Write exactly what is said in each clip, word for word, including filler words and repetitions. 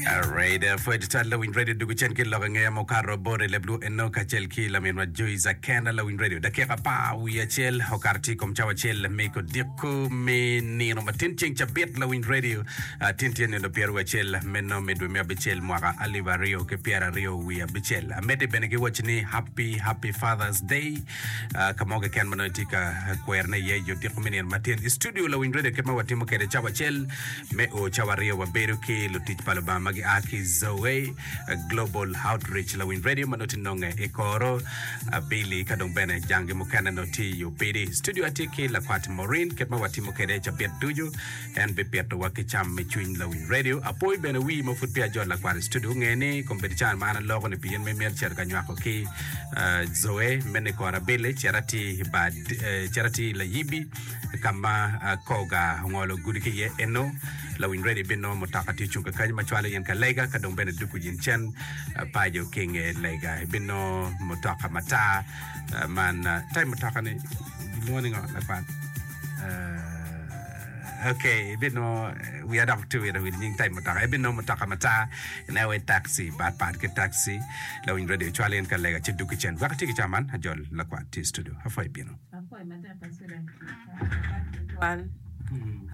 Alright, pwod twal Lawiny Radio dugu cen ki lok angeya mukato bot i leb luo eno kacel ki laminwa Joyce Akena Lawiny Radio dakika apar wiye acel okato tye i kom cawa acel me kodiko me nino ma tin ceng cabit Lawiny Radio ah, tin tye nino pyeraryo wiye acel meno me dwe me abicel mwaka alip aryo ki pyeraryo wiye abicel amedde bene ki waci ni happy happy Father's Day ah, ka mo keken ma nongo itye ka kwerone iye i odiko me nino matin i studio Lawiny Radio kit ma watimo kwede cawa acel me o cawa aryo wabedo ki lutic pa Lubanga ma gia ki Zoe Global Outreach Lawiny Radio ma nongo tye nonge i koro abili ka dong bene jangi mukene nongo tye i Opidi. Studio atye ki lakwat Maureen kit ma watimo kwede cabit ducu en bipitowa ki cam me cwiny Lawiny Radio. Apoi bene wii ma pud peya ajolo lakwat i studio nge ni kombeddi can ma an aloko ni pi in ma imito cito ka nywako ki Zoe meno i koro abili cit atir i bar cit atir i Layibi ka ma koga ongolo gudi ki iye eno lawiny ready ibinongo mutoka tye ocung kakany ma cwalo in ka lega ka dong bene duku in cen paco ki inge lega ibinongo mutoka matar man type mutoka ni gilwongo ni ngo lakwat ok ibinongo wiya dok tye wito wil nying type mutoka ibinongo mutoka matar ineno wai taxi bat pat ki taxi lawiny ready cwalo in ka lega ci duku cen wek ati ki ca man ajol lakwat tye i studio apwoyo bino. Apwoyo matek Kacule tutwal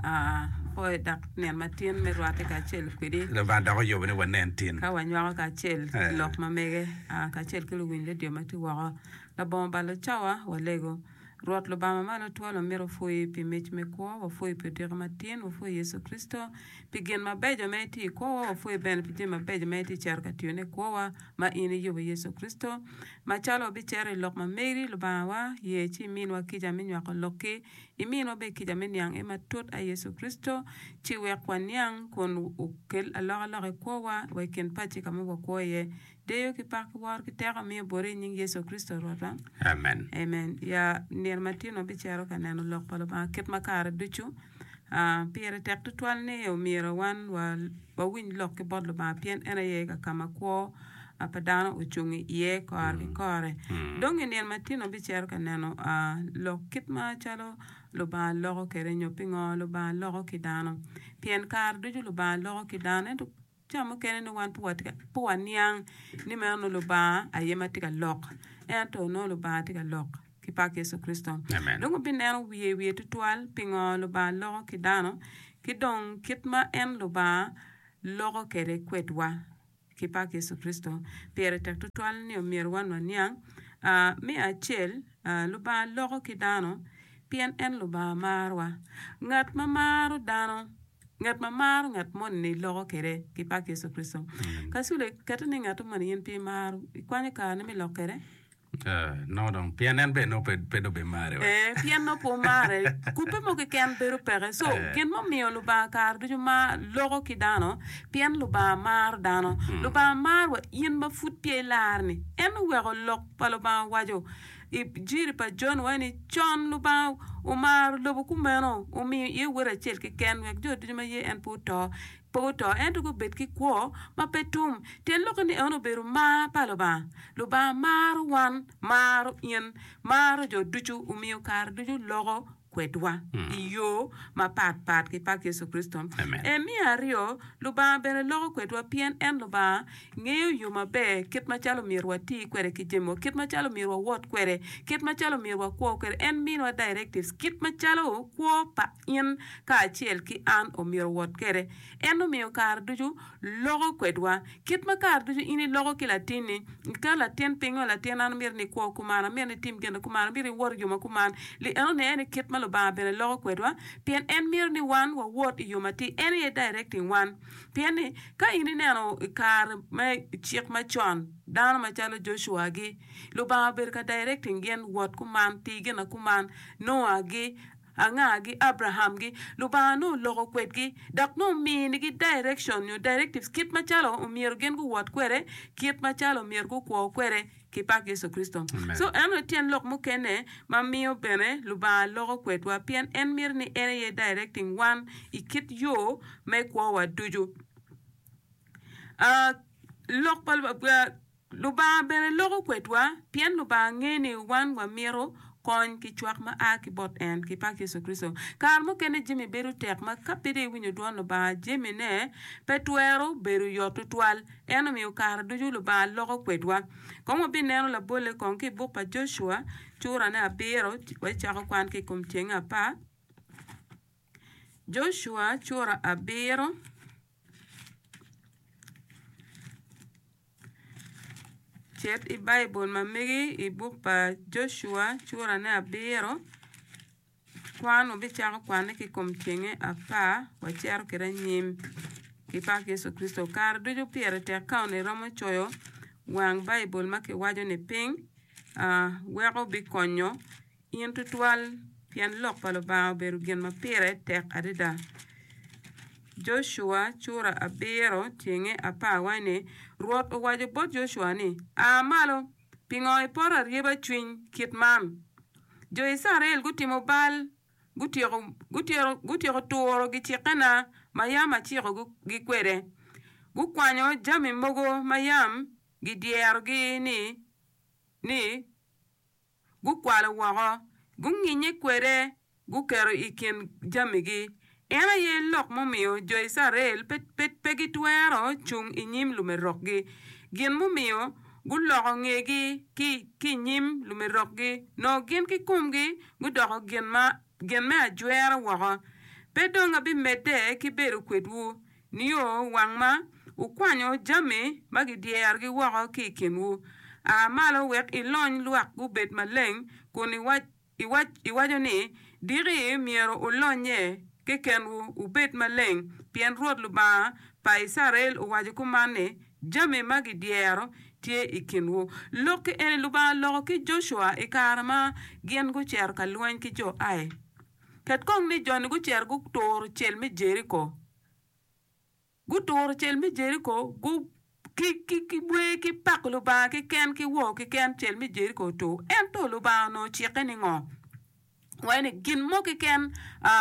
apwoyo dok nino matin me rwate kacel kwedi. Lubanga dok oyubo ni wanen tin. Ka wanywako kacel lok ma mege kacel ki luwiny redio ma tye woko. Labongo balo cawa walego. Rwot Lubanga ma malo twal wamito wapwoyi pi mic me kwo, wapwoyi pi odiko matin, wapwoyi Yecu Kricito pi gin mabeco ma itye i kwowa, wapwoyi bene pi jami mabeco ma itye cito ka tiyone i kwowa ma in iyubo Yecu Kricito. Macalo wabicito i lok ma meri, Lubangawa, ye ci iminwa kica me nywako lokki, iminwa bene kica me niang iye matut, ai Yecu Kricito, ci wek waniang kun okel alokaloka i kwowa wa i kin paci ka ma wakwo iye. Deyo ki pak ki woro ki teko amiyo boti i nying Yecu Kricito Rwotwa. Amen. Amen. Ya nino matin wabicito ka neno lok pa Lubanga kit ma kare ducu. Pire tek tutwal ni omyero wan wawiny lok ki bot Lubanga pien en aye ka ka ma kwo pa dano ocung iye kore ki kore. Dong i nino matin wabicito ka neno lok kit macalo Lubanga loko kwede nyo pingo Lubanga loko ki dano. Pien kare ducu Lubanga loko ki dano ento Ca mukene nongo wan pe waniang ni meno nongo Lubanga aye ma tye ka lok, ento nongo Lubanga tye ka lok ki pak Yecu Kricito. Dong wabineno wiye wiye tutwal pingo Lubanga loko ki dano ki dong kit ma en Lubanga loko kwede kwedwa ki pak Yecu Kricito. Pire tek tutwal ni omyero wan waniang. Me acel, Lubanga loko ki dano pien en Lubanga marowa. Ngat ma maro dano Ngat ma maro ngat moni loko kwede ki pak Yecu Kricito. Kacule, kette ni ngat moni in pe imaro, ikwanyo kareni me lok kwede? Nongo dong, pien en bene nongo pe dong bimari wa. Ee, pien nongo pe omare, kubbe mo keken bedo peke. So, gin mumiyo Lubanga kare ducu ma loko ki dano, pien Lubanga maro dano. Lubanga maro wa in ma pud peya ilar-ni. En oweko lok pa Lubanga owaco I jiri pa Jon waco ni, Con Lubanga omaro lobo kumeno, omiyo iye Wode acel keken, wek jo ducu ma ye en pe oto, pe guto, ento gubed ki kwo ma pe tum. Tyen lokke ni en obedo mar pa Lubanga. Lubanga maro wan, maro in, maro jo ducu, omiyo kare ducu loko kwedwa i yo mapat pat ki pak Yecu Kricito. E Me aryo, Lubanga bene loko kwedwa pien en Lubanga ngeyo yo maber kit macalo myero wati kwede ki jamiwa, kit macalo myero wawot kwede, kit macalo myero wakwo kwede. En miniwa directives kit macalo kwo pa in kacel ki an omyero owot kwede. En omiyo kare ducu loko kwedwa. Kit ma kare ducu in iloko ki latinni, iketo latin pingo, latin an amito ni ikwo kuman, amito ni itim gin kuman, amito iwot i yo ma kuman. Li enoni aye ni kit ma Lubanga bene loko kwedwa, pien en mito ni wan wawot i yo matir. En aye directing wan. Pien ni, ka in ineno i kare me cik macon, dano macalo Joshua-gi, Lubanga obedo ka directing gin, wot kuman, ti gin kuman, Noa-gi, Angagi? Abrahamgi. Lubanga nongo oloko kwedgi dok nongo ominigi direction nyo directives kit macalo omyero gin guwot kwede, kit macalo omyero gukwo kwede ki pak Yecu Kricito. So eno aye tyen lok mukene ma miyo bene Lubanga loko kwedwa pien en mito ni en aye directing wan i kit yo me kwowa ducu. Lok pa Lubanga. Lubanga bene loko kwedwa pien Lubanga ngeyo ni wan wamito kony ki cwak ma a ki bot en ki pak Yecu Kricito. Kare mukene jami bedo tek ma ka pe dong iwinyo dwon Lubanga jamine pe twero bedo yot tutwal. En omiyo kare ducu Lubanga loko kwedwa. Kong wabineno labolle kong ki i buk pa Joshua curane abiro wacako kwan ki i kom tyenge apar. Joshua cura abiro. Cit i Baibul ma megi i buk pa Joshua curane abiro. Kwan wabicako kwanne ki i kom tyenge apar wacito kwede anyim ki pak Yecu Kricito. Kare ducu pire tek ka onongo iromo coyo wang Baibul ma kiwaco ni piny weko bikonyo in tutwal pien lok pa Lubanga obedo gin ma pire tek adada. Joshua cura abiro tyenge apar waco ni, Rwot owaco bot Joshua ni, 'A malo, pingo ipoto aryeba cwiny kit man? Jo Icrael gutimo bal, gutyeko turo gicikkena ma yam acikogi kwede. Gukwanyo jami mogo ma yam gidyerogi ni gukwalo woko, gunginye kwede guketo i kin jamigi. En aye lok mumiyo jo Icrael pe gitwero cung i nyim lumerokgi. Gin mumiyo guloko ngegi ki i nyim lumerokgi, nongo gin kikomgi gudoko gin me ajwera woko. Pe dong abimedde ki bedo kwedwu nio wang ma wukwanyo jami ma gidyerogi woko ki i kinwu. A malo wek ilony lwak gubed maleng kun iwaco ni, 'Diki myero wulonnye kekenwu wubed maleng, pien Rwot Lubanga pa Icrael owaco kuman ni, Jami ma gidyero tye i kinwu. Lok-ki eni Lubanga oloko ki Joshua i kare ma gin gucito ka lweny ki jo Ai. Ket kong ni jo-ni gucito guturo cel me Jeriko. Guturo cel me Jeriko ki wer ki pako Lubanga keken ki wor keken cel me Jeriko otur. Ento Lubanga onongo ocikke ni ngo? Waco ni gin mo keken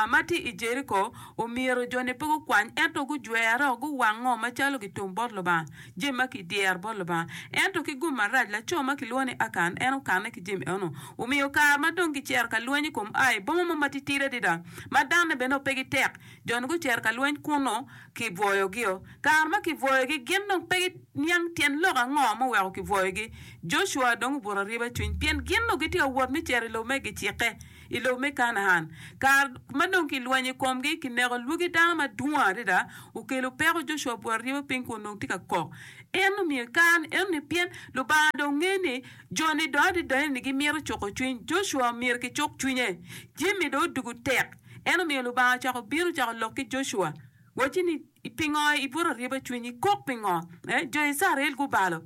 ma tye i Jeriko omyero jo-ni pe gukwany ento gujwero guwango macalo gitum bot Lubanga, jami ma kidyero bot Lubanga. Ento ki gum marac, laco ma kilwongo ni Akan en okanne ki jami eno. Omiyo kare ma dong gicito ka lweny i kom Ai, boma mo matitidi adada ma danne bene pe gitek, jo-ni gucito ka lweny kunnu kibwoyogio. Kare ma kibwoyogi, gin dong pe giniang tyen lok ango muweko kibwoyogi. Joshua dong obuto ariba cwiny pien gin onongo gitye ka wot me cito i lobo me gicikke, i lobo me Kanaan. Kare ma dong kilwenyo i komgi, kineko lwagi dano madwong adada, okelo peko. Joshua obuto ariba piny kun dong tye ka kok. En omiyo kare enoni pien Lubanga dong ngeyo ni jo-ni dong adada-ni gimito cuko cwiny. Joshua omyero kicuk cwinye. Jami dong odugo tek. En omiyo Lubanga ocako bino ocako lok ki Joshua, wacci ni, Pingo ibuto aryeba cwinyi? Kok pingo? Jo Icrael gubalo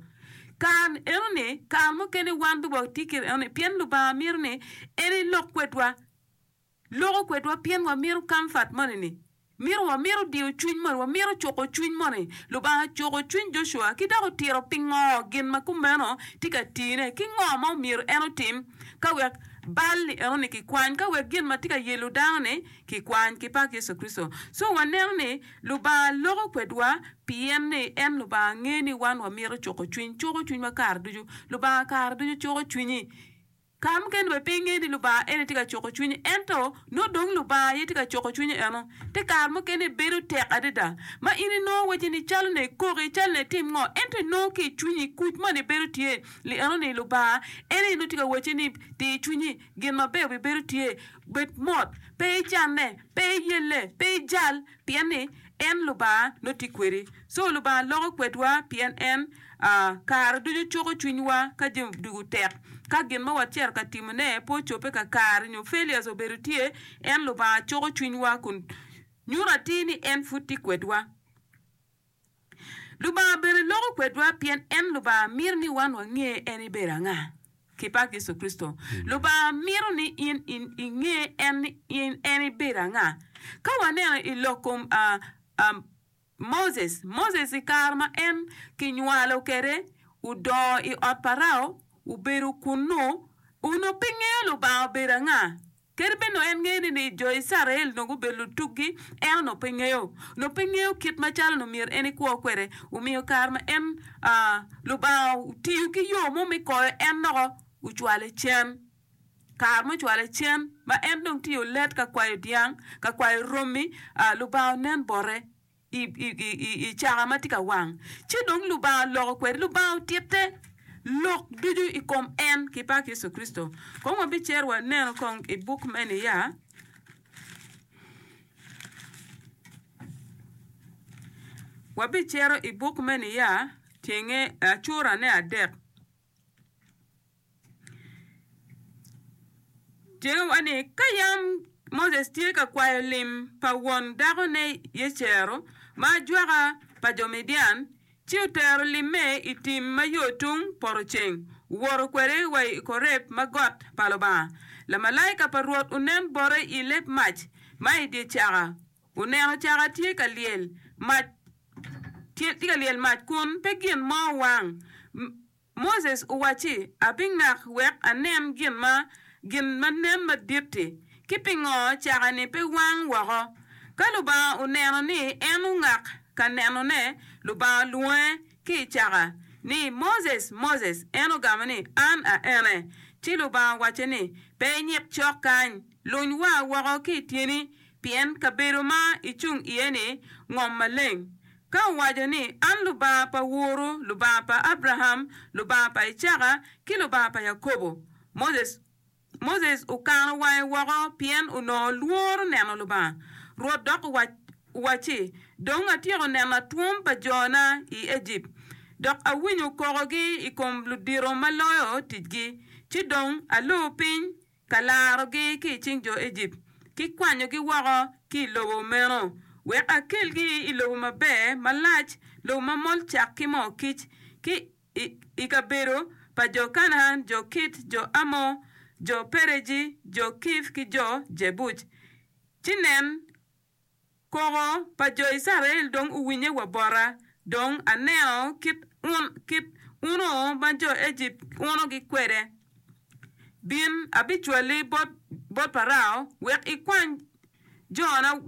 kare enoni, kare mukene wan bene watye kit enoni, pien Lubanga mito ni en elok kwedwa. Loko kwedwa pien wamito comfort moni-ni. Mito wamito diyo cwiny moni, wamito cuko cwiny moni. Lubanga ocuko cwiny Joshua ki dok otito pingo gin ma kumeno tye ka tine ki ngo ma omyero en otim ka wek bal-li enoni kikwany, ka wek gin ma tye ka yelo dano-ni kikwany ki pak Yecu Kricito. So waneno ni Lubanga loko kwedwa pien ni en Lubanga ngeyo ni wan wamito cuko cwiny, cuko cwinywa kare ducu. Lubanga kare ducu cuko cwinyi. Kare mukene bene pe ingeyo ni Lubanga ene tye ka cuko cwinyi, ento nongo dong Lubanga aye tye ka cuko cwinyi eno. Te kare mukene bedo tek adada ma in inongo wacci ni calo ne ikoki, calo ne itim ngo, ento inongo ki i cwinyi kuc moni bedo tye li eno ni Lubanga en aye nongo tye ka wacci ni tir cwinyi, gin maber obibedo tye, bed mot, pe icanne, pe iyelle, pe ijal, pien ni en Lubanga nongo tye kwedi. So Lubanga loko kwedwa pien en kare ducu cuko cwinywa ka jami odugo tek. Ka gin ma wacito ka timone pe ocobbe kakare nyo failures obedo tye, en Lubanga cuko cwinywa kun nyuto atir ni en pud tye kwedwa. Lubanga bene loko kwedwa pien en Lubanga mito ni wan wange en ebedo anga. Ki pak Yecu Kricito. Lubanga mito ni in inge en ni en ebedo anga. Ka waneno i lok kom Moses, Moses i kare ma en kinywalo kwede odongo i ot Parao, obedo kunnu, onongo pe ngeyo Lubanga obedo anga. Kadi bed nongo en ngeyo ni jo Icrael onongo gubedo lutuggi, en onongo pe ngeyo. Onongo pe ngeyo kit macalo onongo myero en ekwo kwede. Omiyo kare ma en Lubanga otiyo ki yo mo me koyo en dok ocwale cen. Kare mucwale cen ma en dong tye olet ka kwayo dyang, ka kwayo romi, Lubanga onen bote i caka ma tye ka wang. Ci dong Lubanga oloko kwede, Lubanga otitte lok ducu i kom en ki pak Yecu Kricito. Kong wabicito waneno kong i buk me Niya. Wabicito i buk me Niya, tyenge curane adek. Tyengewa ni, ka yam Moses tye ka kwayo lim pa won dakone Yecero, ma ajwaka pa jo Midian, ci otero limme i tim ma yo tung poto ceng, owoto kwede wa i Koreb ma got pa Lubanga. Lamalaika pa Rwot onen bote i leb mac ma i dye caka, oneno caka tye ka lyel mac, tye ka lyel mac kun pe gin mo wang. Moses owacci, Abingak wek anen gin ma gin ma nen madit-ti, ki pingo caka-ni pe wang woko. Ka Lubanga oneno ni en ongak ka nenone, Lubanga olwonge ki i caka, ni, Moses, Moses! En ogamo ni, An a ene. Ci Lubanga owacce ni, Pe inyik cok kany, luny waa woko ki i tyeni, pien kabedo ma icung iye-ni ngom maleng. Ka owaco ni, An Lubanga pa woru, Lubanga pa Abraham, Lubanga pa Icaka, ki Lubanga pa Yakobo. Moses Moses okano wange woko pien onongo lworo neno Lubanga. Rwot dok owacci, Dong atyeko neno atwom pa jona i Ejipt, dok awinyo kokogi i kom ludito ma loyo ticgi, ci dong alor piny ka larogi ki i cing jo Ejipt, ki kwanyogi woko ki i lobo meno, wek akelgi i lobo maber malac, lobo ma mol cak ki moo kic, ki i kabedo pa jo Kanaan, jo Kit, jo Amor, jo Pereji, jo Kiv ki jo Jebuc. Ci nen, Koko pa jo Icrael dong owinnye wa bota, dong aneno kit uno ma jo Ejipt unogi kwede. Bin, abicwali bot Parao wek ikwany jona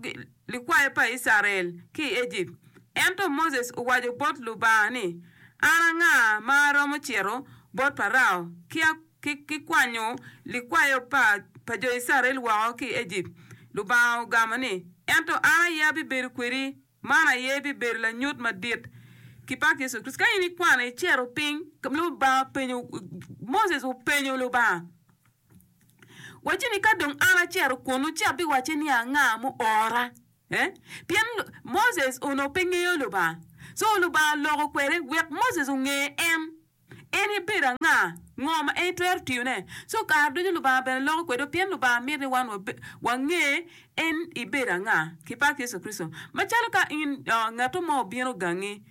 likwayo pa Icrael ki i Ejipt. Ento Moses owaco bot Lubanga ni, An anga ma aromo cito bot Parao ki kwanyo likwayo pa jo Icrael woko ki i Ejipt? Lubanga ogamo ni, Ento an aye abibedo kwedi, man aye bibedo lanyut madit ki pak Yecu Kricito. Ka in ikwano icito piny, Lubanga openyo, Moses openyo Lubanga, wacce ni, Ka dong an acito kunnu, ci abiwacce ni anga muora? Eh? Pien Moses onongo pe ngeyo Lubanga. Co Lubanga oloko kwede wek Moses onge en. En ebedo anga? Ngo ma en etwero tiyone? Co kare ducu Lubanga bene loko kwedwa pien Lubanga mito ni wan wange en ebedo anga ki pak Yecu Kricito. Macalo ka in ngatto mo obino gangi,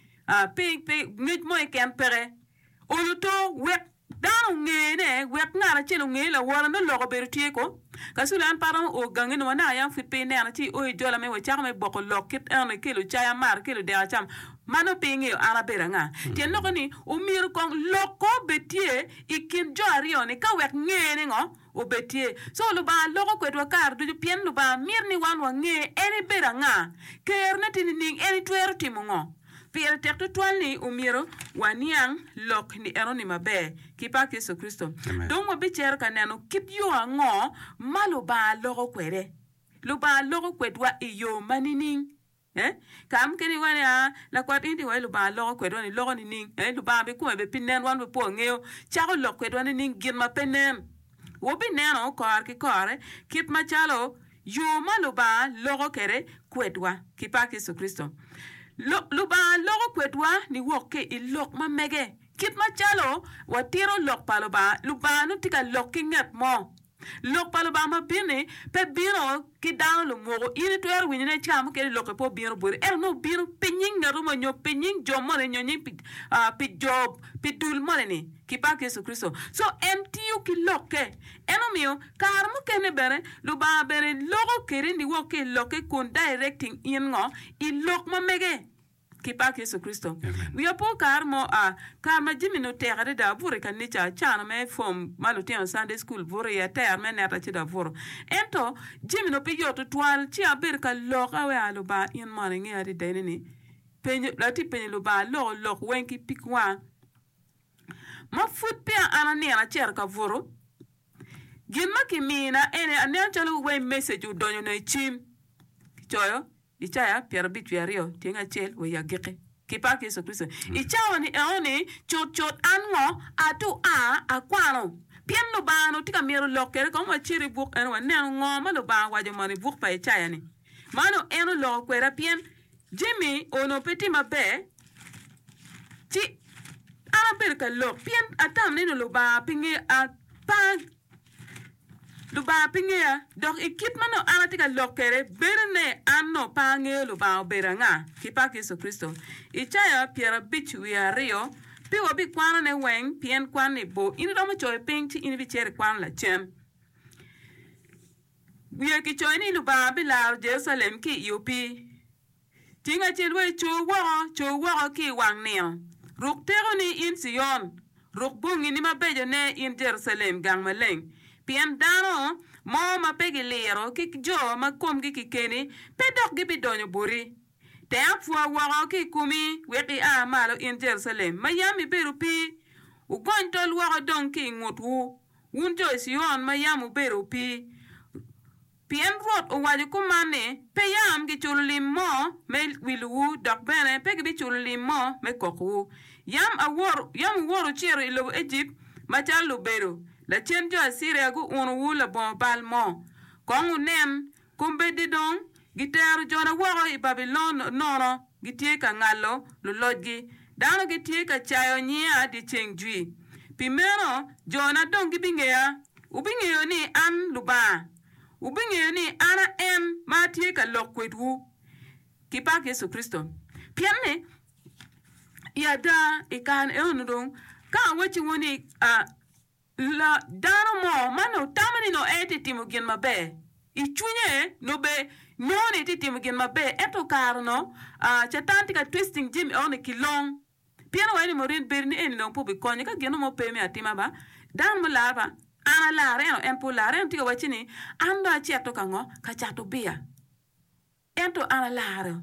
pe ngec mo keken peke, olo to wek dano ongene, wek ngat acel onge lawote nongo lok obedo tye ko. Kacule an pe aromo o gangi nongo anaka yam pud pe inena ci io ijola me wacako me boko lok kit eno ikelo cai amar ikelo dek acam ma nongo pe ingeyo an abedo anga. Tyen lokke ni omyero kong lok ko obed tye i kin jo aryo ni ka wek ngene ngo obed tye. So Lubanga loko kwedwa kare ducu pien Lubanga mito ni wan wange en ebedo anga, kerone tye nining, en itwero timo ngo. Pire tek tutwal ni omyero waniang lok ni enoni maber ki pak Yecu Kricito. Dong wabicito ka neno kit yo ango ma Lubanga loko kwede. Lubanga loko kwedwa i yo ma nining? Eh? Kare mukene iwaco ni, Ah, lakwat in iwaco Lubanga loko kwedwa ni loko nining? Eh? Lubanga be kome be pi nen wan be pe wangeyo. Cako lok kwedwa nining gin ma pe nen? Wabineno kore ki kore kit macalo yo ma Lubanga loko kwede kwedwa ki pak Yecu Kricito. Lubanga loko kwedwa niwok ki i lok ma mege. Kit macalo watito lok pa Lubanga, Lubanga nongo tye ka lok ki nget mo. Lok pa Lubanga ma bino-ni pe bino ki dano lumuku. In itwero winyo ni ca mukene lokke pe obino boti, ento nongo obino pi nying ngat mo nyo pi nying jo moni nyo nying pi jo pi dul moni-ni ki pak Yecu Kricito. Co en tiyo ki lokke. En omiyo kare mukene bene Lubanga bene loko kedi niwok ki i lokke kun directing in ngo i lok ma mege. Ki pak Yecu Kricito. Wiya po kare mo a kare ma jami ni otek adada abuto i kanica acano me form ma lutino Sunday school buto iye ater me neta ci dong abuto. Ento jami ni pe yot tutwal ci abedo ka lok awe a Lubanga in mono ingeyo adada eni ni penyo atye penyo Lubanga aloko lok weng ki pig wanga ma pud peya an anino acito ka buto. Gin ma kimina ene aneno calo wai message odonyo na i cim. Kicoyo Icaya pyerabic wiye aryo tyeng acel wa i agikki. Ki pak Yecu Kricito. I cawa ni eno ni cut cut an ngo atu a akwano pien Lubanga onongo tye ka mito lok kwede kong wacit i buk eno waneno ngo ma Lubanga owaco mono i buk pa Icaya ni. Ma onongo en oloko kweda pien jami onongo pe tye maber ci an abedo ka lok pien atamo ni Lubanga pe ngeyo pe Lubanga pe ngeya dok i kit ma nongo an atye ka lok kwede bedo ne an nongo pe angeyo Lubanga obedo anga ki pak Yecu Kricito. Icaya pyerabic wiye aryo pe wabikwanone weng pien kwan-ni bor in iromo coyo piny ci in ibicito ikwano lacen. Wiye kicoyo ni Lubanga bilaro Jerucalem ki i opii. Ceng acel wa ico woko, co woko ki i wang nino. Ruk tekoni, in Cion, ruk bongini mabecone, in Jerucalem, gang maleng. Pien dano mo ma pe giliro ki jo ma komgi kikeni pe dok gibidonyo boti. Teng apwa woko ki i komi, wek ia malo, in Jerucalem, ma yam ibedo opii. Wugony tol woko dong ki i ngutwu, wun jo Cion ma yam wubedo opii. Pien Rwot owaco kuman ni, Pe yam giculo lim mo me wilowu, dok bene pe gibiculo lim mo me kokowu. Yam yam wuwoto wucito i lobo Ejipt macalo lubedo, lacen jo Aciria guunowu labongo bal mo. Kong wunen, kombeddi dong gitero jona woko i Babilon nono, gitye ka ngalo lulocgi, dano gitye ka cayo nyinga dyeceng jwi. Pi meno jona dong gibingeya, wubingeyo ni an Lubanga. Wubingeyo ni an a en ma atye ka lok kwedwu ki pak Yecu Kricito. Pien ni, i ada, i kare eno dong, ka awacciwu ni, la, dano mo ma nongo tamo ni nongo en tye timo gin maber, i cwinye nongo be nongo ni etye timo gin maber, ento kare no, Catan tye ka twisting jami eno ni kilong. Pien owaco ni Maureen bedo ni eni dong pe obikonyo ka gin mo pe me atima ba, dano mular ba, an alar ento en pe olar ento tye ka wacci ni an dong acito ka ngo? Ka cato biya. Ento an alaro.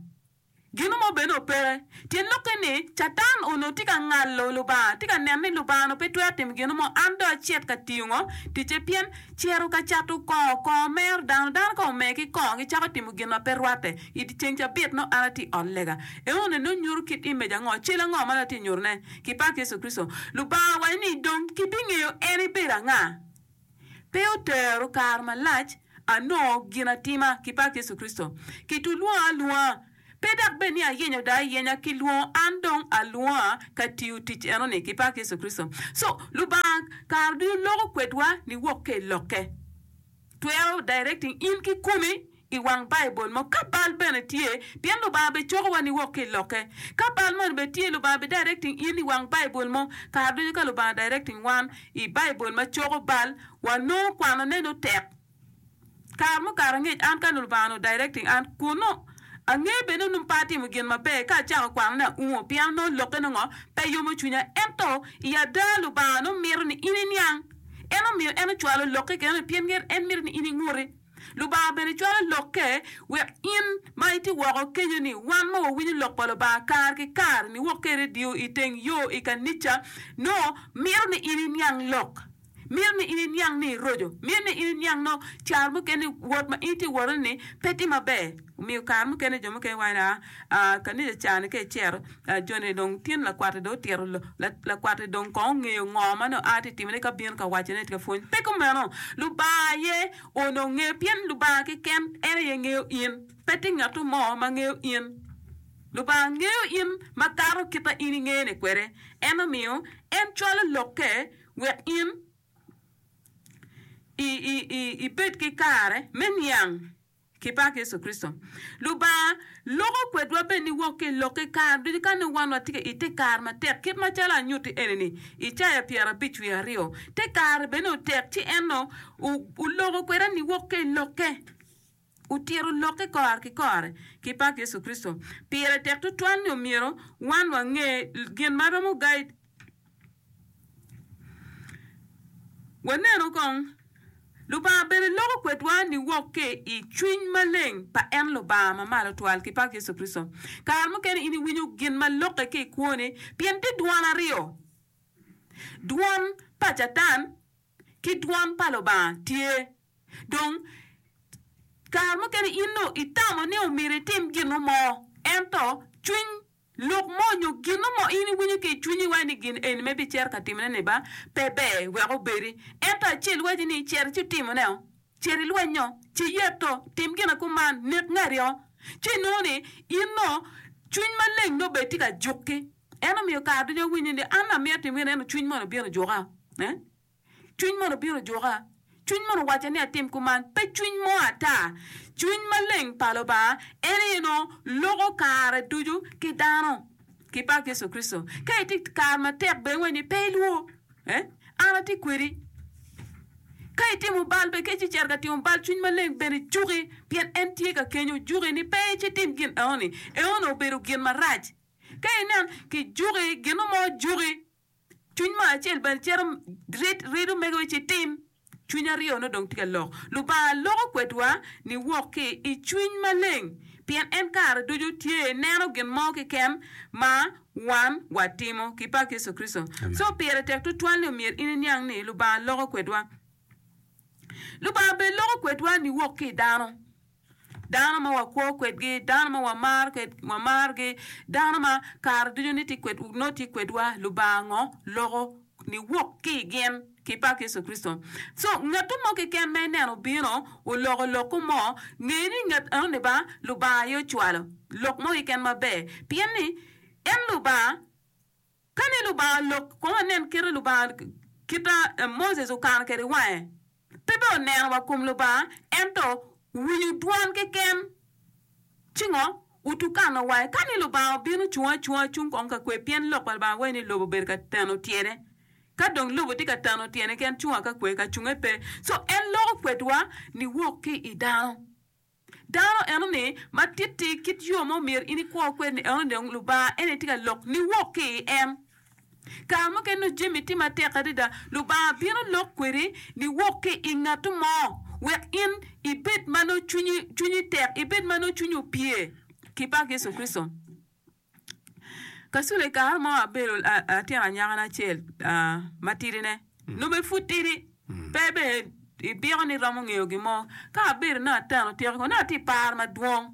Gin mo bene opeke. Tyen lokke ni Catan onongo tye ka ngalo Lubanga, tye ka neno ni Lubanga onongo pe twero timo gin mo, an dong acit ka tiyo ngo? Ticce pien cito ka cato kongo, kongo mero dano, dano ka omer ki kongo gicako timo gin ma pe rwatte. I dyeceng cabit nongo an atye i ot lega. Enoni nongo nyuto kit image ango? Cal ango ma nongo atye ka nyutone? Ki pak Yecu Kricito. Lubanga owaco ni dong kibingeyo en ebedo anga. Pe otero kare malac anongo gin atima ki pak Yecu Kricito. Kitulwonga alwonga. Pe dok bed ni ayenyo dong ayenya, kilwongo an dong alwonga ka tiyo tic enoni ki pak Yecu Kricito. So, Lubanga kare ducu loko kwedwa niwok ki i Lokke. Twero directing in kikomi i wang Baibul mo ka bal bene tye, pien Lubanga be cokowa niwok ki i Lokke. Ka bal moni bene tye, Lubanga be directing in i wang Baibul mo. Kare ducu ka Lubanga directing wan i Baibul ma coko bal, wanongo kwanone nongo tek. Kare mukato angec, an ka Lubanga onongo directing an, kun nongo angeyo bene ni onongo pe atimo gin maber, ka acako kwanone aungo, pien onongo lokke nongo pe yomo cwinya. Ento i ada Lubanga nongo mito ni in iniang. En omiyo en ocwalo lokke kene pien en mito ni in inguti. Lubanga bene cwalo lokke wek in ma itye woko kenyo ni wan ma wawinyo lok pa Lubanga kare ki kare niwok ki i redio, i teng yo, i kanica, nongo mito ni in iniang lok. Mito ni in iniang ni iroco. Mito ni in iniang nongo caro mukene wot ma in itye wotone ni pe tye maber. Omiyo kare mukene jo mukene waco ni aa kanica ca ni ka icito joni dong tin lakwat-ti dong otito lakwat-ti dong kong ongeyo ngo ma nongo a tye timone ka bino ka wacone tye ka pwony. Pe kumeno! Lubanga aye onongo ngeyo pien Lubanga keken en aye ngeyo in. Pe tye ngat mo ma ngeyo in. Lubanga ngeyo in makato kit ma in ingene kwede. En omiyo en cwalo lokke wek in ibed ki kare me niang ki pak Yecu Kricito. Lubanga loko kwedwa bene niwok ki i lokke kare ducu ka nongo wan watye i te kare matek kit macalo anyutti eni-ni. Icaya pyerabic wiye aryo, te kare bene otek ci en oloko kweda niwok ki i lokke. Otito lokke kore ki kore ki pak Yecu Kricito. Pire tek tutwal ni omyero wan wange gin ma romo guide. Wanenu kong, Lubanga bene loko kwedwa niwok ki i Cwiny Maleng pa en Lubanga ma malo twal, ki pak Yecu Kricito. Kare mukene in iwinyo gin ma lokke ki i kwoni pien tye dwon aryo, dwon pa Catan ki dwon pa Lubanga tye. Dong, kare mukene in nongo itamo ni omyero itim gin mo, ento cwiny lok mo nyo gin mo in iwinyo ki i cwinyi iwaco ni gin eni ma ibicito ka timone-ni ba pe ber wek obedi. Ento acel waci ni cit ci itimone-o, cit ilwenyo, ci iyeto, tim gin akuman, nek ngati-o. Ci inongo ni in nongo cwiny maleng nongo bene tye ka juki. En omiyo kare ducu awinyo ni an amito timo gin ento cwiny moni obino ojuka. Cwiny mono obino ojuka? Cwiny mono owacca ni atim kuman? Pe cwiny mo ata. Cwiny maleng pa Lubanga en aye nongo loko kare ducu ki dano ki pak Yecu Kricito. Ka itye i kare matek bene wai ni pe ilwor, eh, an atye kwedi. Ka itimo bal bene, ka icito ka timo bal, cwiny maleng bene juki pien en tye ka kenyo juki ni pe icitim gin enoni. Enoni obedo gin marac. Ka inen kijuki, gin mo juki. Cwiny mo acel bene cito rido mege ci tim. Cwiny aryo nongo dong tye ka lok. Lubanga loko kwedwa niwok ki i cwiny maleng, pien en kare ducu tye neno gin mo keken ma wan watimo ki pak Yecu Kricito. Co pire tek tutwal ni omyero in iniang ni Lubanga loko kwedwa. Lubanga bene loko kwedwa niwok ki i dano. Dano ma wakwo kwedgi, dano ma wamarogi, dano ma kare ducu nongo tye kwedwa, Lubanga ngo loko niwok ki i gin ki pak Yecu Kricito. Co ngat mo keken ma ineno obino oloko lokko mo, nge ni ngat enoni ba Lubanga aye ocwalo lok mo keken maber, pien ni en Lubanga. Ka ni Lubanga olok, kong wanen kite Lubanga kita Moses okano kwede wange. Pe bene oneno wa kom Lubanga, ento winyo dwan keken. Ci ngo? Otukano wange. Ka ni Lubanga obino cung acunga cung kong ka kwe, pien lok pa Lubanga waco ni lobo obedo ka teno tyene. Ka dong lobo tye ka teno tyene keken, cung ka kwe, ka cunge pe. Co en loko kwedwa niwok ki i dano. Dano eno-ni ma titti kit yo ma omyero in ikwo kwede-ni eno-ni dong Lubanga en aye tye ka lok niwok ki i en. Kare mukene nongo jami tye matek adada, Lubanga bino lok kwedi niwok ki i ngat mo wek in ibed ma nongo cwinyi tek, ibed ma nongo cwinyi opye ki pak Yecu Kricito. Kacule i kare mo abedo latin anyakana acel matidine, nongo bene pud tidi, pe bene ibiko ni iromo ngeyo gin mo. Ka abedo nongo ateno tyeko nongo atye i par madwong.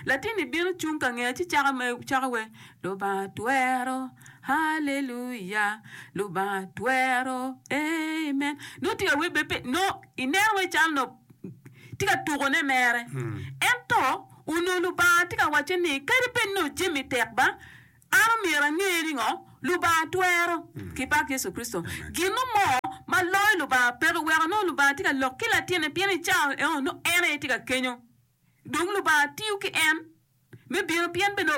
Latin-ni bino cung ka ngeya ci cako wer, Lubanga twero, haleluya, Lubanga twero, amen. Nongo tye ka wer bene pe, nongo ineno wai calo nongo tye ka tukone mere. Ento Onongo Lubanga tye ka wacce ni, kadi bed nongo jami tek ba, an omyero ange ni ngo? Lubanga twero. Ki pak Yecu Kricito. Gin mo ma loyo Lubanga peke weko nongo Lubanga tye ka lok ki latinne pien i cawa eno nongo en aye tye ka kenyo. Dong Lubanga tiyo ki en me bino pien bene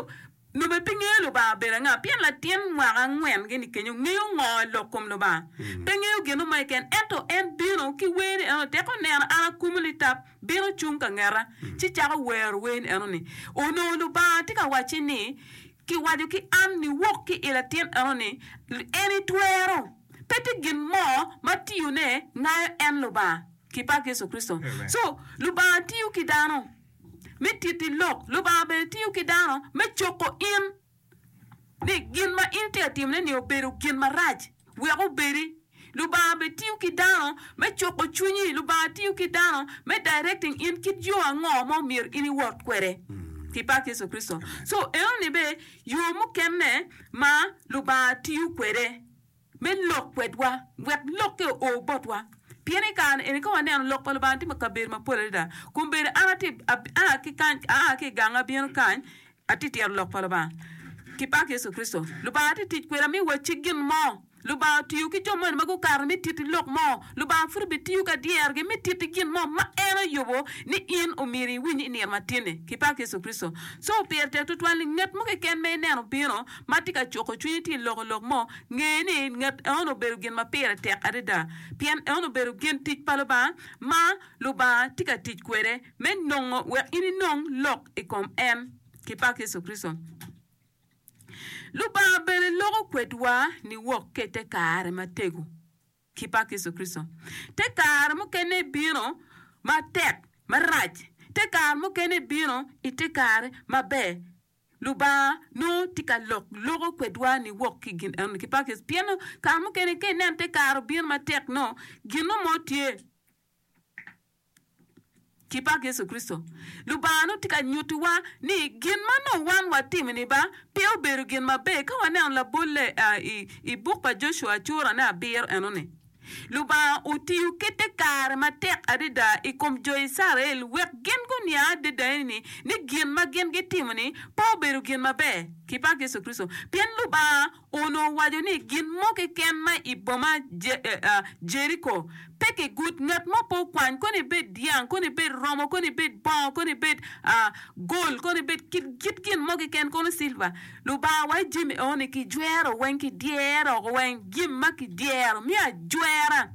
nongo bene pe ngeyo Lubanga obedo anga pien latin mwaka angwen gini kenyo ngeyo ngo i lok kom Lubanga. Pe ngeyo gin mo keken ento en bino ki wer ni eno teke oneno an akumo litap bino cung ka ngeta ci cako wero wer ni eno ni onongo Lubanga tye ka wacce ni kiwaco ki an niwok ki i latin eno ni en itwero pe tye gin mo ma tiyone ngayo en Lubanga ki pak Yecu Kricito. So Lubanga tiyo ki dano me titi lok. Lubanga bene tiyo ki dano me coko in ni gin ma in itye ka timone ni obedo gin marac wek obedi. Lubanga bene tiyo ki dano me cuko cwinyi. Lubanga tiyo ki dano me directing in kit yo ango ma omyero in iwot kwede. Ki pak Yecu Kricito. So enoni bene yo mukene ma Lubanga tiyo kwede me lok kwedwa wek lokke oo botwa. Pien i kare eni ka waneno lok pa Lubanga tye kabedo mapol adada. Kun bedo an atye aa ki kany aa ki i gang abino kany atye tito lok pa Lubanga. Ki pak Yecu Kricito. Lubanga tye tic kweda me wacci gin mo. Lubanga otiyo ki jo moni ma gukato me titi lok mo. Lubanga pud obitiyo ka dyerogi me titi gin mo ma en oyubo ni in omyero iwiny i nino matin-ni. Ki pak Yecu Kricito. Co pire tek tutwal ni ngat mo keken ma ineno bino ma tye ka cuko cwinyi tye loko lok mo, nge ni ngat enoni obedo gin ma pire tek adada pien enoni obedo gin tic pa Lubanga ma Lubanga tye ka tic kwede me nongo wek in inong lok i kom en. Ki pak Yecu Kricito. Lubanga bene loko kwedwa niwok ki i te kare matego. Ki pak Yecu Kricito. Te kare mukene bino matek, marac. Te kare mukene bino i te kare maber. Lubanga nongo tye ka lok loko kwedwa niwok ki gin enoni ki pak Yecu pien kare mukene ka inen te kare obino matek nongo gin mo tye ki pak Yecu Kricito. Lubanga nongo tye ka nyutiwa ni gin ma nongo wan watimo-ni ba pe obedo gin maber. Ka waneno labolle i buk pa Joshua curane abiro enoni, Lubanga otiyo ki te kare matek adada i kom jo Icrael wek gin guniang adada ni ni gin ma gin gitimo-ni pe obedo gin maber. Ki pak Yecu Kricito. Pien Lubanga onongo owaco ni gin mo keken ma i boma Jeriko pe kigud, ngat mo pe okwany, kono ibed dyang, kono ibed romo, kono ibed bongo, kono ibed gol, kono ibed kit gin mo keken, kono silva. Lubanga waco jami eno-ni kijwero weng, kidyero oko weng, gin ma kidyero me ajwera.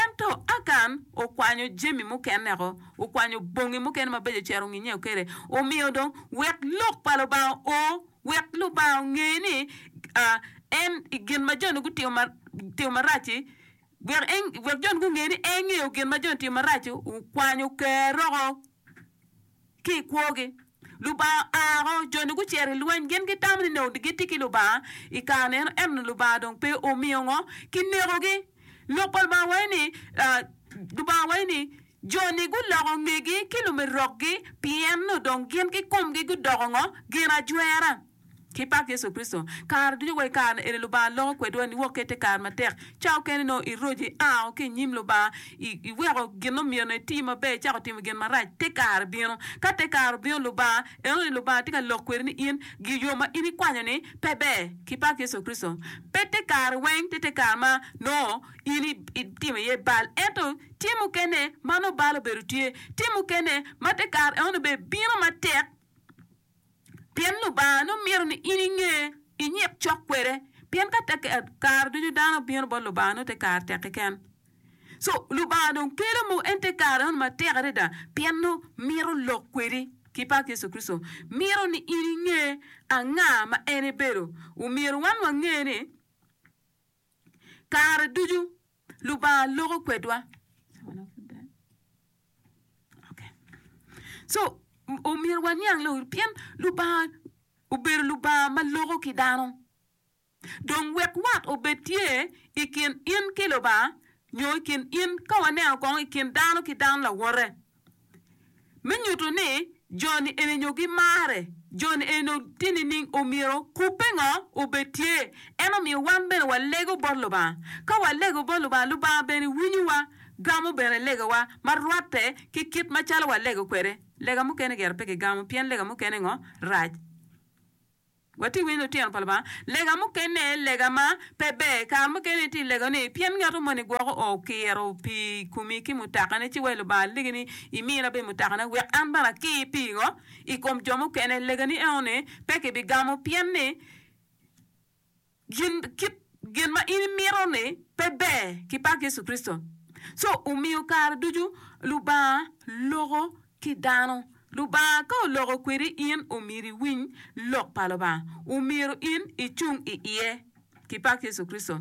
Ento Akan okwanyo jami mukene oko, okwanyo bongi mukene mabeco ocito onginye kwede, omiyo dong wek lok pa Lubanga oo. Wek Lubanga onge ni en gin ma jo-ni gutimo marac-ci, wek jo-ni gunge ni en ngeyo gin ma jo-ni timo marac-ci, okwanyo ker-roko ki i kwogi. Lubanga oa oko, jo-ni gucito i lweny, gin gitamo ni nongo gitye ki Lubanga i kare meno, ento Lubanga dong pe omiyo ngo, kinekogi. Lok pa Lubanga waco ni, Lubanga waco ni, Jo-ni guloko ngegi ki lumerokgi pien nongo dong gin kikomgi gudoko ngo? Gin ajwera. Ki pak Yecu Kricito, kare ducu wa i kare-ni eni Lubanga loko kwedwa niwok ki i te kare matek. Ca okene nongo iroco ia ki i nyim Lubanga, iweko gin ma myero iti maber icako timo gin marac, te kare bino. Ka te kare obino Lubanga, eno ni Lubanga tye ka lok kwedi ni in, yo ma in ikwanyo-ni pe ber. Ki pak Yecu Kricito, pe te kare weng tye te kare ma nongo in itimo iye bal, ento Tye mukene ma nongo bal obedo tye, tye mukene ma te kare enoni bene bino matek pien Lubanga nongo mito ni in inge, inyik cok kwede pien ka te kare ducu dano bino bot Lubanga nongo te kare tek keken. So Lubanga dong kelo mo en te kare enoni matek adada pien nongo mito lok kwedi ki pak Yecu Kricito. Mito ni in inge anga ma en ebedo. Omyero wan wange ni kare ducu Lubanga loko kwedwa. So, omyero waniang lok pien Lubanga obedo Lubanga ma loko ki dano. Dong wek wat obed tye i kin in ki Lubanga nyo i kin in ka waneno kong i kin dano ki dano lawote. Me nyuto ni jo-ni eni nyo gimare, jo-ni eni nyo tye nining, omyero kubbe ngo obed tye. En omiyo wan bene walego bot Lubanga. Ka walego bot Lubanga, Lubanga bene winyowa, gamo bene legawa ma rwatte ki kit macalo walego kwede. Lega mukene gire pe kigamo pien lega mukene ngo rac. Watye winyo lutino pa Lubanga. Lega mukene lega ma pe ber. Kare mukene itye i lego ni pien ngat moni gwoko okiro pii i komi ki mutakane ci wai Lubanga alegi ni imina bene mutakana wek an bene akir pii ngo i kom jo mukene. Legani enoni pe kibigamo pien ni Gin, kit gin ma in imito ni pe ber ki pak Yecu Kricito. Co omiyo kare ducu Lubanga loko ki dano. Lubanga ka oloko kwedi in omyero iwiny lok pa Lubanga. Omyero in icung i iye ki pak Yecu Kricito.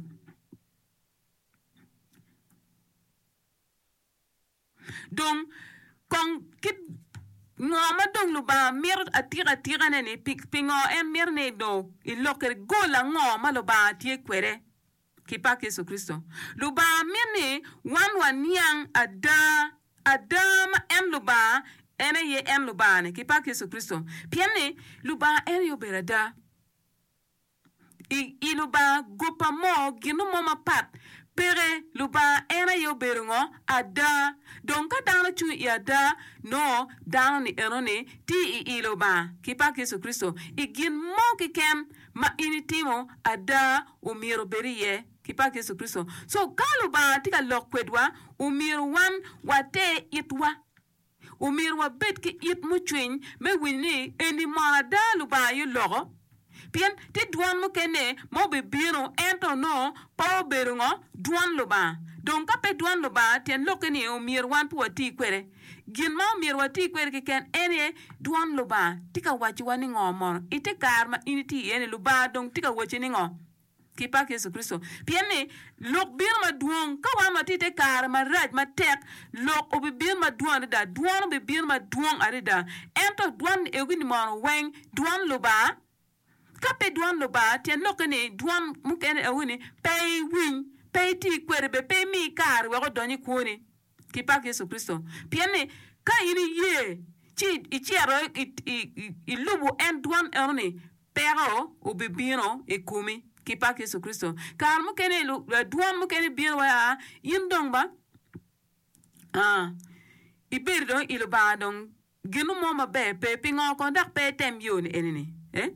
Dong, kong kit ngo ma dong Lubanga mito atika atikane-ni? Pingo en mito ni dong ilok kwede? Gol ango ma Lubanga tye kwede ki pak Yecu Kricito? Lubanga mito ni wan waniang ada, ada ma en Lubanga en aye en Lubanga-ni ki pak Yecu Kricito. Pien ni Lubanga en aye obedo ada. I, i Lubanga, goba mo, gino mo mapat peke. Lubanga en aye obedo ngo? Ada. Dong ka dano cung i ada, nongo dano-ni enoni tye i i Lubanga, ki pak Yecu Kricito. I gin mo keken ma in itimo, ada omyero obed iye, ki pak Yecu Kricito. So, ka Lubanga tye ka lok kwedwa, omyero wan water itwa. Omyero wabed ki it mucwiny me winyo ni eni mono ada Lubanga aye oloko. Pien tye dwon mukene ma obibino ento nongo pe obedo ngo? Dwon Lubanga. Dong ka pe dwon Lubanga, tyen lokke ni omyero wan pe wati kwede. Gin ma omyero wati kwede keken en aye dwon Lubanga. Tye ka wacowa ni ngo mono? I te kare ma in itye iye ni Lubanga dong tye ka wacci ni ngo? Ki pak Yecu Kricito. Pien ni, lok bino madwong. Ka wan watye i te kare marac matek, lok obibino madwong adada, dwon obibino madwong adada. Ento dwon egi-ni mono weng dwon Lubanga? Ka pe dwon Lubanga, tyen lokke ni dwon mukene egi-ni pe iwiny, pe iti kwede bene, pe imi kare wek odony i kwoni. Ki pak Yecu Kricito. Pien ni, ka in iye ci icito ilubo en dwon eno-ni, Peko obibino i komi ki pak Yecu Kricito. Kare mukene dwon mukene bino wa aa in dong ba aa ibedo dong i Lubanga dong gino mo maber pe pingo kong dok pe item yo ni eni ni eh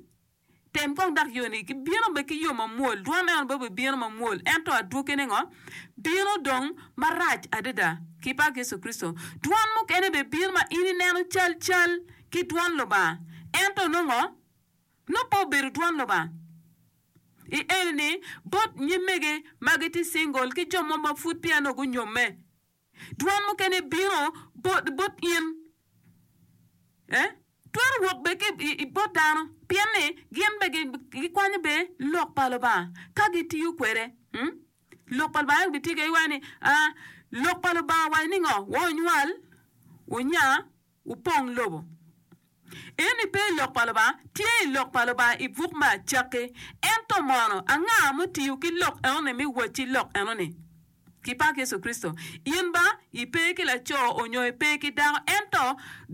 tem kong dok yo ni bino bene ki yo mamwol dwon eno bene obibino mamwol ento adwogine ngo bino dong marac adada ki pak Yecu Kricito. Dwon mukene bene bino ma in ineno cal cal ki dwon Lubanga ento nongo Nongo pe obedo dwon Lubanga. I eni-ni, bot nyimege ma gitye cingol ki jo mo ma pud peya nongo gunyomme, dwon mukene bino bot in. Eh, twero wok bene ki i bot dano, pien ni gin bene gikwanyo bene lok pa Lubanga ka gitiyo kwede. Hmm? Lok pa Lubanga gitiyo kwede giwaco ni, ah, lok pa Lubanga waco ni ngo? Wa wunywal, wunya, wupong lobo. Eni pe i Lok pa Lubanga, tye i Lok pa Lubanga i buk me Acakki. Ento mono, anga mutiyo ki lok enoni me wacci lok enoni? Ki pak Yecu Kricito. In ba, ipe ki laco onyo ipe ki dako, ento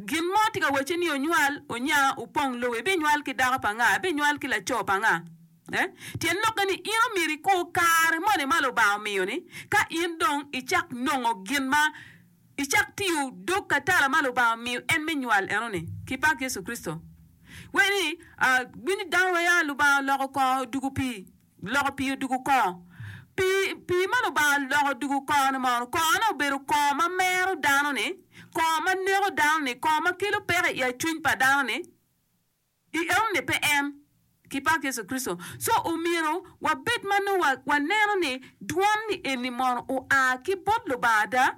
gin mo tye ka wacci ni onywal, onya, opong lobo. Ibinywal ki dako pa anga? Ibinywal ki laco pa anga? Eh? Tyen lokke ni in omyero ikur kare moni ma Lubanga omiyo-ni, ka in dong icak nongo gin ma Icak tiyo dog katala ma Lubanga omiyo en me nywal enoni, ki pak Yecu Kricito. Wek ni, winyo dano wai a Lubanga oloko kongo odugo pii, loko pii odugo kongo. Pii, pii ma Lubanga oloko odugo kongo ni mono, kongo ne obedo kongo ma mero dano ni, kongo ma neko dano ni, kongo ma kelo peko i acwiny pa dano ni. I enoni pe en, ki pak Yecu Kricito. Co omyero wabed ma nongo waneno ni dwon-ni eni mono oa ki bot Lubanga ada?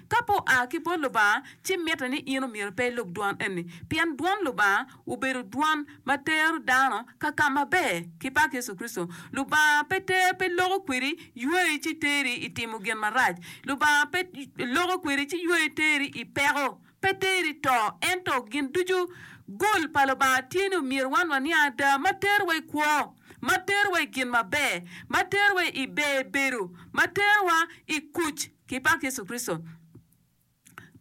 Ka pe oa ki bot Lubanga, ci mitte ni in omyero pe ilub dwon eni, pien dwon Lubanga obedo dwon ma tero dano ka ka maber, ki pak Yecu Kricito. Lubanga pe ter pe loko kwedi yweyi ci teri i timo gin marac. Lubanga pe loko kwedi ci yweyi teri i peko. Pe teri to, ento gin ducu gol pa Lubanga tye ni omyero wan waniang ada ma terowa i kwo, ma terowa i gin maber, ma terowa i ber bedo, ma terowa i kuc ki pak Yecu Kricito.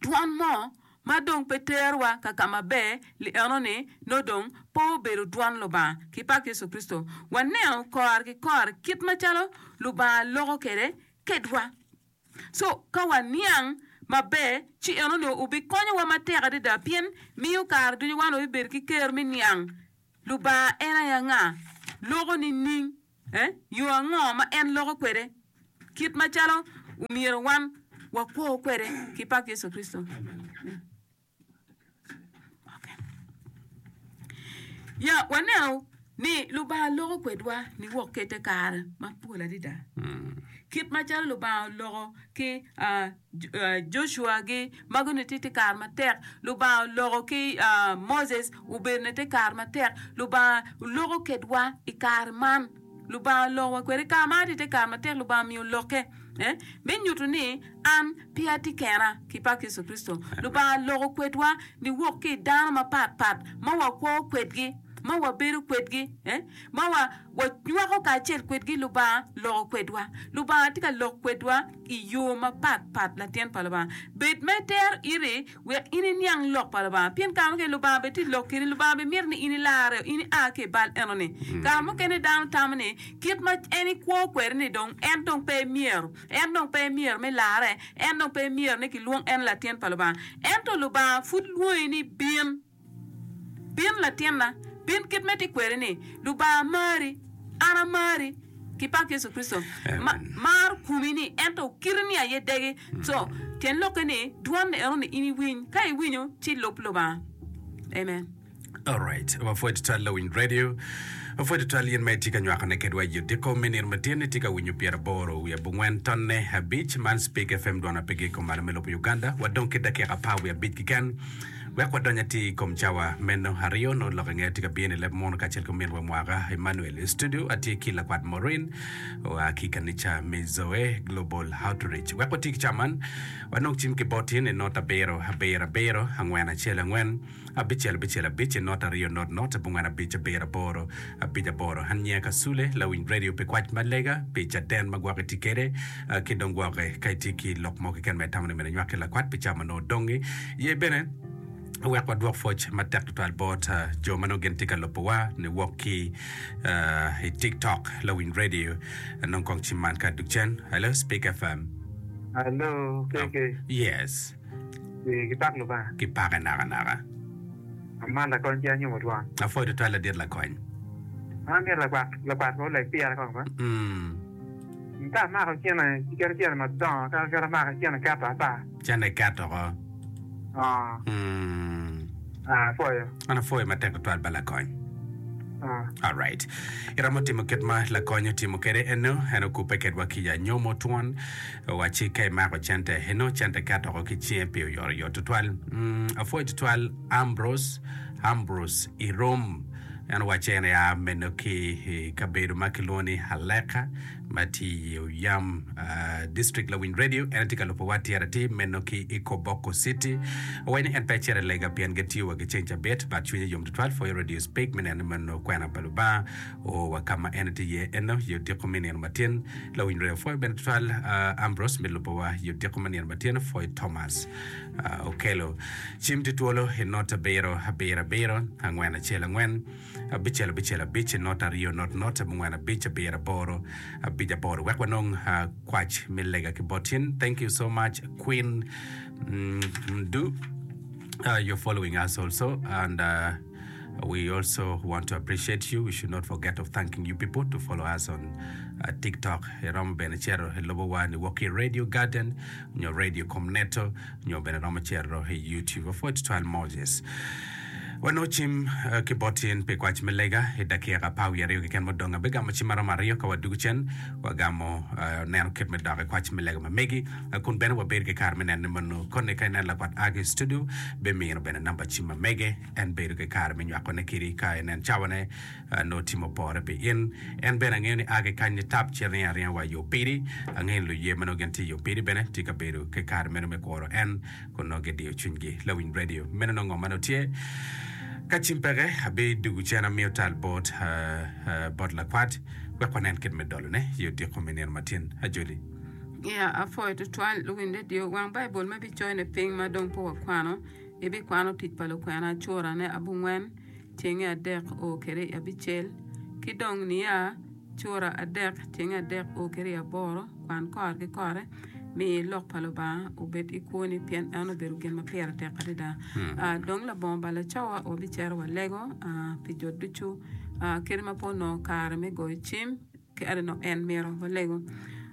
Dwon mo ma dong pe terowa ka ka maber li eno-ni nongo dong pe obedo dwon Lubanga ki pak Yecu Kricito. Waneno kore ki kore kit macalo Lubanga loko kwede kedwa. Co, ka waniang maber, ci enoni obikonyowa matek adada pien miyo kare ducu wan wabibedo ki kero me niang Lubanga en aye anga, loko nining, eh, yo ango ma en loko kwede, kit macalo omyero wan wakwo kwede ki pak Yecu Kricito. Ya, waneno ni Lubanga loko kwedwa niwok ki i te kare mapol adada. Kit macalo Lubanga oloko ki Joshua-gi ma gunongo tye i te kare matek, Lubanga oloko ki Moses obedo i te kare matek, Lubanga oloko kedwa i kare man. Lubanga oloko wa kwede kare ma atye i te kare matek, Lubanga omiyo lokke me nyuto ni an pe atye kena ki pak Yecu Kricito. Lubanga loko kwedwa niwok ki i dano mapat pat ma wakwo kwedgi, ma wabedo kwedgi, ma wanywako kacel kwedgi. Lubanga loko kwedwa. Lubanga tye ka lok kwedwa i yo mapat pat. Latin pa Lubanga, bed ma itero iti wek in iniang lok pa Lubanga. Pien kare mukene Lubanga bene tye lok kedi, Lubanga bene mito ni in ilarre, in ia ki i bal enoni. Kare mukene dano tamo ni kit ma en ikwo kwede-ni dong en dong pe myero, en dong pe myero me larre, en dong pe myero ni kilwong en latin pa Lubanga. Ento Lubanga pud lwongi ni bin. Bin latinna, bin kit ma itye kwede-ni. Lubanga mari, an amari, ki pak Yecu Kricito. Ma, maro komi-ni, ento kiti-ni aye degi. Co, tyen lokke ni, dwon-ni eno-ni in iwiny. Ka iwinyo, ci lub Lubanga. Amen. Alright, wapwoyo tutwal lawiny radio. Wapwoyo tutwal in ma itye ka nywakone kedwa i odiko me nino matin. Itye ka winyo pyeraboro wiye abongwen tonne abic man Speak F M dwon apigi i kom malo me lobo Uganda. Wadong ki dakika apar wiye abic keken. Wek wadony atir i kom cawa meno aryo nongo lok inge tye ka bino i leb munu kacel ki ominwa mwaka Emmanuel. I studio atye ki lakwat Maureen oa ki i kanica me Zoe Global Outreach. Wek wati ki cawa man, wanong cim ki bot in i not abiro abiro abiro angwen acel angwen abicel abicel abic i not aryo not not abongwen abic abiro aboro abic aboro. An nyinga Kasule, lawiny radio pi kwac ma lega, pi caden ma gwoki tye kede, ki dong gwoke ka itye ki lok mo keken ma itamo ni myero inywak ki lakwat pi cawa ma nongo odongi. Ye bene wek wadwok pwoc matek tutwal bot jo ma nongo gin tye ka lubowa niwok ki i TikTok, lawiny radio. Nong kong cim man ka dug cen. Hello, Speak F M. Hello, K K. Yes. Eh, gipak Lubanga. Gipake nakanaka. Aman lakony ki anyumo twon. Apwoyo tutwal ladit lakony. An amito lakwat lakwat ma oleg pira kong ba. Mm. Ka amako cene, keto cene madongo, ka keto amako cene keto ata. Cene keto ko. Ah, Mm. ah, apwoyo. An apwoyo matek tutwal ba lakony. Ah. Alright. Iromo timo kit ma lakony otimo kwede eno, en okubbe kedwa ki i anyomo twon. Wacci ka imako cente eno, cente keto oko ki cinge pi oyotoyot tutwal. Mm, apwoyo tutwal Ambrose, Ambrose Irom. En owacci en ea meno ki i kabedo ma kilwongo ni Aleka ma tye i Oyam uh, District Lawiny Radio. En tye ka lubowa atir atir meno ki i Koboko City. Owaco ni en pe ecito i lega pien gitiyo wa ki ceng cabit, but cwinye yom tutwal pwoyo Radio Speak me neno ni meno kwena pa Lubanga oo wa ka ma en tye iye eno i odiko me nino matin. Lawiny Radio pwoyo bene tutwal uh, Ambrose me lubowa i odiko me nino matin. Pwoyo Thomas uh, Okelo. Cim tye twolo i not abiro abiro abiro angwen acel angwen abicel abicel abic not aryo not not abongwen abic abiro aboro abic aboro wek wanong uh, kwac me lega ki bot in. Thank you so much, Queen mm, Mdu. Uh, you're following us also, and uh, we also want to appreciate you. We should not forget of thanking you people to follow us on uh, TikTok. Iromo bene cito i lobowa ni wok i Radio Garden nyo Radio Comneto nyo bene romo cito i YouTube. Apwoyo tutwal Moses. Wanongo cim uh, ki bot in pi kwac me lega i dakika apar wiye aryo keken mudong. Abigamo cim maromo aryo ka wadugo cen wagamo uh, neno kit me dok i kwac me lega ma megi uh, kun bene wabedo ki kare me neno ni mono koni ka inen lakwat a ki i studio bimino bene namba cim ma mege en bedo ki kare me nywakone kidi ka inen cawane uh, nongo timo pore pi in. En bene angeyo ni a ki kany ni tap cito ringo aringa wa i Opidi. Angeyo ni luye ma nongo gin tye i Opidi bene tye ka bedo ki kare meno me kuro en kun nongo gidiyo cwinygi. Lawiny radio meno nongo ngo ma nongo tye ka cim peke abidugo cen amiyo tal bot uh, uh, bot lakwat wek wanen kit me dolone i odiko me nino matin ajoli. Ya, apwoyo tutwal luwiny radio. Wang Baibul ma ibicoyone piny ma dong pe wakwano, ibikwano Tic pa Lukwena curane abongwen, tyenge adek o kede i abicel, ki dong Nia cura adek, tyenge adek o kede i aboro, kwan kore ki kore, mi lok pa Lubanga obed i kwoni pien en obedo gin ma pire tek adada. Uh, dong labongo balo cawa wabicito walego uh, pi jo ducu uh, kadi ma pe onongo kare me goyo cim kadi no en mito walego.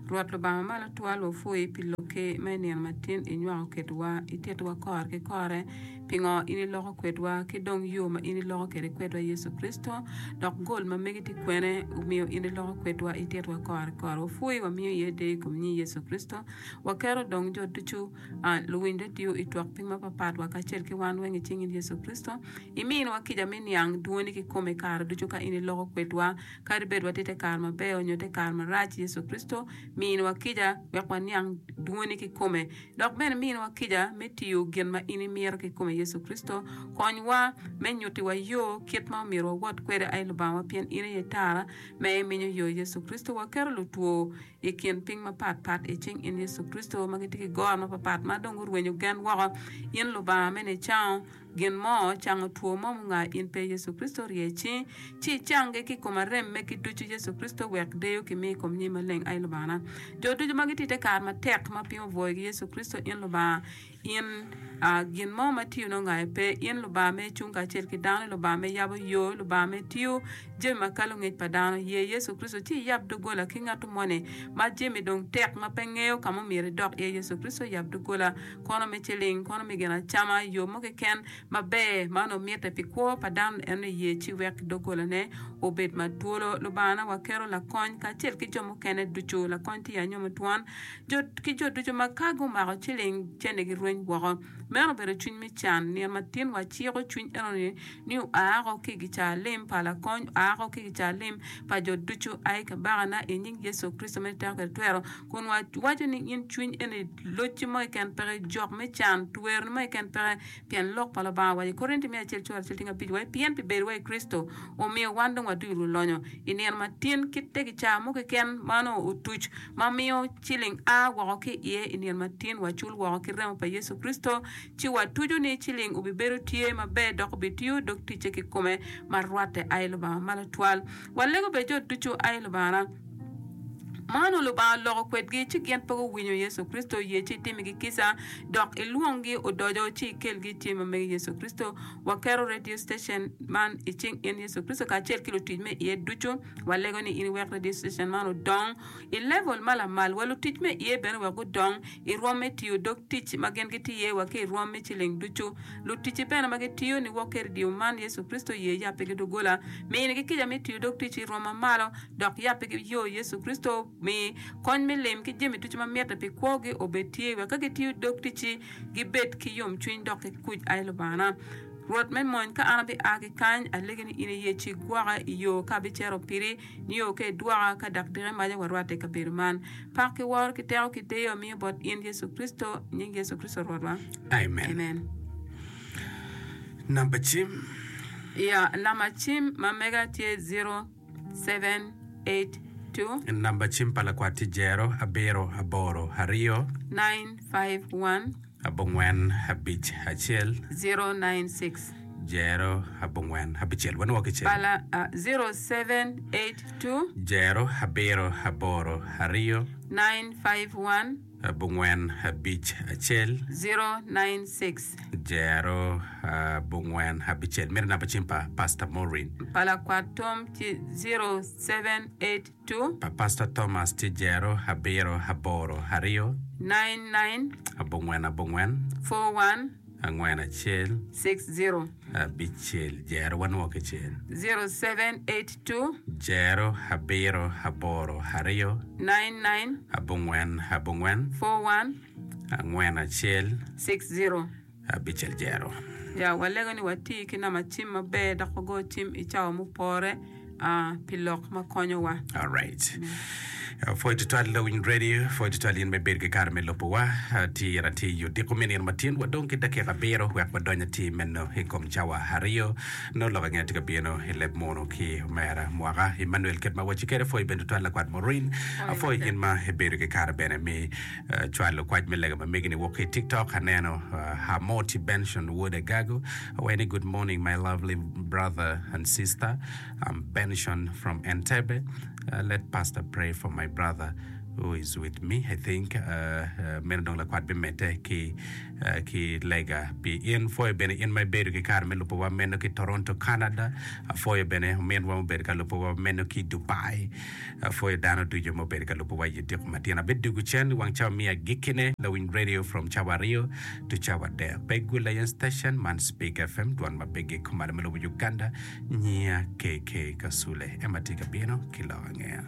Rwot Lubanga malo twal wapwoyi pi lokki ma i nino matin inywako kedwa ititowa kore ki kore pingo in iloko kwedwa ki dong yo ma in iloko kwede kwedwa Yecu Kricito dok gol ma megi tye kwene omiyo in iloko kwedwa ititowa kore ki kore wapwoyi wamiyo iye deyo i kom nying Yecu Kricito waketo dong jo ducu uh, luwiny radio i twak piny mapapat wa kacel ki wan weng i cing in Yecu Kricito iminiwa kica me niang dwoni kikome kare ducu ka in iloko kwedwa kadi bed watye te kare maber nyo te kare marac Yecu Kricito miniwa kica wek waniang dwoni kikome dok bene miniwa kica me tiyo gin ma in imito kikome Yecu Kricito konywa me nyutiwa yo kit ma omyero wawot kwede ai Lubanga pien in aye tara ma iminyo yo Yecu Kricito waketo lutwo i kin piny mapatpat i cing in Yecu Kricito ma gitye ki goro mapapat ma dong gurwenyo gen woko in Lubanga me nicango gin mo cango two mo munga in pe Yecu Kricito rye cingi ci icanggi ki i kom arem megi ducu Yecu Kricito wek deyo kimi i kom nyim maleng ai Lubangana jo ducu ma gitye i te kare matek ma piny obwoyogi Yecu Kricito in Lubanga in uh, gin mo ma tiyo nongo ngayo pe in Lubanga me cung kacel ki dano Lubanga me yabo yo Lubanga me tiyo jami ma kalo ngec pa dano ye Yecu Kricito ci iyab dogola ki ngatu moni ma jami dong tek ma pe ngeyo ka ma omyero idok iye Yecu Kricito yab dogola kono me ciling kono me gin acama yo mo keken maber ma onongo mitte pi kwo pa dano en iye ci wek dogolane obed ma twolo. Lubangana, waketo lakony kacel ki jo mukene ducu, lakony tye i anyomo twon, jo ki jo ducu ma ka gumako ciling cene girweny woko. Meno obedo cwiny me can. Nino matin waciko cwiny enoni ni oa oko ki i gicaa lim pa lakony, oa oko ki i gicaa lim pa jo ducu. Ai Kabakana, i nying Yecu Kricito ma teko kwede twero, kun wawaco ni in cwiny eni locci mo keken peke, jok me can, tweroni mo keken peke, pien lok pa Lubanga owaco i Korinti me acel cura acel tingo abic wa pien pi bedowa i Kricito omiyo wan dong waducu lulonyo. I nino matin kit te gicaa mo keken ma onongo otuc ma miyo ciling a woko ki iye i nino matin wacul woko ki remo pa Yecu Kricito, ci watuco ni ciling obibedo tye maber dok obitiyo dog ticce kikome ma rwatte. Ai Lubanga ma latwal, walego bed jo ducu, ai Lubangana. Ma onongo Lubanga oloko kwedgi, ci gin pe guwinyo Yecu Kricito. Ye ci itimigi kica, dok ilwonggi odoco, ci ikelgi i tye ma megi Yecu Kricito. Waketo radio station man i cing in Yecu Kricito kacel ki lutic me iye ducu. Walego ni in iwek radio station man odong i level ma lamal, wa lutic me iye bene wek gudong i rwom me tiyo dog tic ma gin gitye iye wa ki i rwom me ciling ducu. Luticci bene ma gitiyo niwok ki radio man Yecu Kricito ye yabbigi doggola. Minigi kica me tiyo dog tic i rwom ma malo, dok yabbigi yo Yecu Kricito. Mi kony me lim ki jami ducu ma mitte pi kwogi obed tye, wek ka gitiyo dog ticci gibed ki yomcwiny dok ki kuc. Ai Lubangana, Rwot me mony, ka an abia ki kany, alegi ni in iye ci igwoka i yo ka abicito piri, nio ka idwoka, ka dok diki maca warwatte i kabedo man. Pak ki woro ki teko ki deyo amiyo bot in Yecu Kricito, i nying Yecu Kricito Rwotwa. Amen. Amen. Namba cim. Ya, namba cim ma mega tye zero seven eight two. Namba cim pa lakwat tye jero abiro aboro aryo. Nine five one. Abongwen abic acel. Zero nine six. Jero abongwen abicel. Wanwo kicel. Pala zero seven eight two. Jero abiro aboro aryo. Nine five one. Abongwen abic acel. Zero nine six. Jero abongwen abicel. Meno namba cim pa Pastor Maureen. Pa lakwat Tom tye zero seven eight two. Pa Pastor Thomas tye jero abiro aboro aryo. Nine nine. Abongwen abongwen. Four one. Angwen acel. Six zero. Abicel jero wanwo kicel. Zero seven eight two. Jero abiro aboro aryo. Nine nine. Abongwen abongwen. Four one. Angwen acel. Six zero. Abicel jero. Ya, walego ni wati ki namba cim maber dok wago cim i cawa mupore uh, pi lok ma konyowa. All right. Uh, Pwoyo tutwal Lawiny Radio, pwoyo tutwal in me bedo ki kare me lubowa. Uh, Tye atir i odiko me nino matin, wadong ki dakika abiro wek wadony atir meno i kom cawa aryo. Nongo lok ange tye ka bino i leb munu ki omera mwaka Emmanuel kit ma wacci kwede. Pwoyo bene tutwal lakwat Maureen. Pwoyo Apwoyo matek. in ma ibedo ki kare bene me uh, cwalo kwac me lega ma megi ni wok ki i TikTok. Aneno uh, Hamoti Benson Wod Agago. Awaco ni good morning my lovely brother and sister. I'm Benson from Entebbe. Uh, let pastor pray for my brother who is with me. I think uh, uh, meno dong lakwat bimedde ki uh, ki lega pi in. Pwoyo bene in ma ibedo ki kare me lubowa meno ki Toronto, Canada. Apwoyo bene ominwa mubedo ka lubowa meno ki Dubai. Apwoyo dano ducu mubedo ka lubowa i odiko matin. Abidugo cen wang cawa miya agikkine Lawiny Radio from cawa aryo to cawa adek. Pe gul ayen station man Speak F M dwon ma pigi kumalo me lobo Uganda. Nyiya K K Kasule ema tye ka bino ki lok angeya.